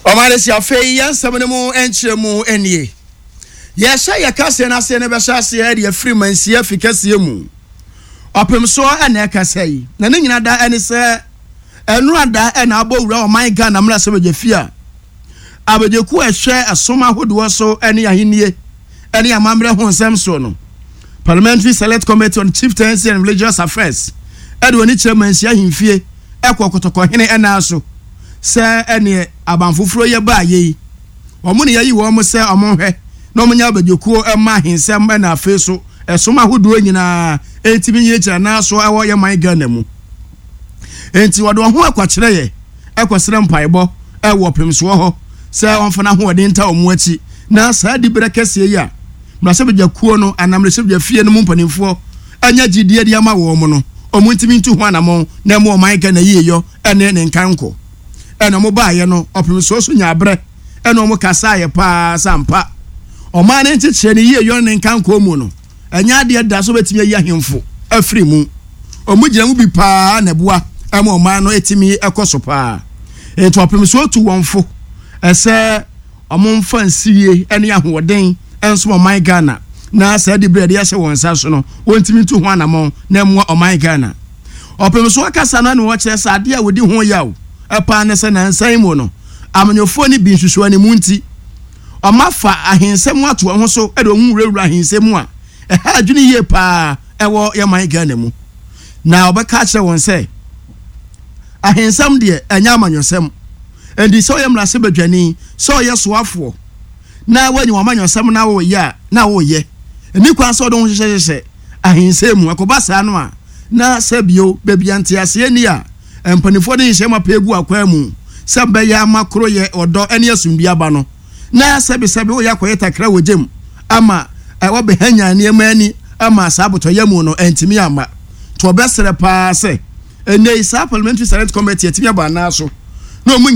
Ɔman si afei yɛn nsɛm no mu nkyerɛmu nie. Yɛhyɛ yɛ kaseɛ no aseɛ no bɛhyɛ aseɛ de afiri mansia fi kɛseɛ mu. Ɔpemsoɔ ɛna ɛkasa yi. Na ne nyina da ɛne sɛ ɛnora da ɛna abɔ wura ɔman Ghana mmarahyɛbadwa fie a abadwakuo a ɛhwɛ ɛsom ahodoɔ so ɛne ahennie ɛne amammerɛ ho nsɛm soɔ no, Parliamentary Select Committee on Chieftaincy and Religious Affairs, ɛde wɔn ani kyerɛ mansia ahemfie ɛkɔ kɔtɔkɔhene ɛnan so sɛ ɛneɛ aban foforɔ yɛ baa yei wɔn ne yɛyi wɔn sɛ wɔn nhwɛ na wɔn nyɛ abadwakuo ɛma ahensɛm ɛna afei so ɛsom ahodoɔ nyinaa ɛntumi nyinagyina nan so ɛwɔ yɛ man Ghana mu. Enti wɔde wɔn ho akwakyerɛ yɛ ɛkɔsrɛ mpaebɔ ɛwɔ pemsoɔ hɔ sɛ wɔmfa n'ahoɔden nta wɔn akyi na saa diberɛ kɛseɛ yi a mmarahyɛbadwakuo no anaa mmarahyɛbadwa fie no mu mpanimfoɔ anya gyidie de ama wɔn no, wɔn ntumi ntu ho anamɔn na ɛma ɔman Ghana yieyɔ ne ne nkankɔ. Ɛna wɔn baeɛ no, ɔpemsoɔ so nyaa berɛ ɛna wɔn kasaeɛ paa sɛ ampa ɔman no nkyekyeɛ ne yieyɔ ne ne nkankɔ mu no, ɛnyɛ adeɛ da so bɛtumi ayi ahemfo afiri mu. Wɔn gyina mu bi paa na ɛboa ɛma ɔman no ɛtumi ɛkɔ so paa. Nti ɔpemsoɔ tu wɔn fo ɛsɛ wɔmfa nsiwie ne ahoɔden nsom ɔman Ghana na saa diberɛ a yɛde ahyɛ wɔn nsa so no, wɔntumi ntu ho anamɔn na ɛmmoa ɔman Ghana. Ɔpem so akasa no na wɔkyerɛ sɛ adeɛ a wɔdi ho yaw paa ne sɛ nansa yi mu no, amanyɔfoɔ no bi nsusuanimu nti, wɔafa ahensɛm ato wɔn ho so de wɔn ho wurawura ahensɛm mu a ɛha adwene yie paa ɛwɔ yɛn man Ghana mu. Na wɔbɛka akyerɛ wɔn sɛ ahensɛm deɛ ɛnyɛ amanyɔsɛm. Enti sɛ ɔyɛ mmarahyɛbadwani, sɛ ɔyɛ soafoɔ na woanya w'amanyɔsɛm na woreyɛ a, na woreyɛ. Ɛnni kwan sɛ wode wo ho hyehyɛhyehyɛ ahensɛm mu. Ɛkɔba saa no a, na sɛ bio, baabi a nteaseɛ nni a, mpanimfoɔ de nhyehyɛe mapa agu akwan mu sɛ bɛyɛ ama koroyɛ, ɔdɔ ne asomdwoeɛ aba no, na sɛbesɛbe woreyɛ akɔyɛ takra wɔ gya mu ama wɔabɛhanyan nneɛma ani ama saa abotɔyam no antumi amma. Nti wɔbɛsrɛ paa sɛ ɛnnɛ yi saa Parliamentary Select Committee atumi abɔ anaa so na wɔn.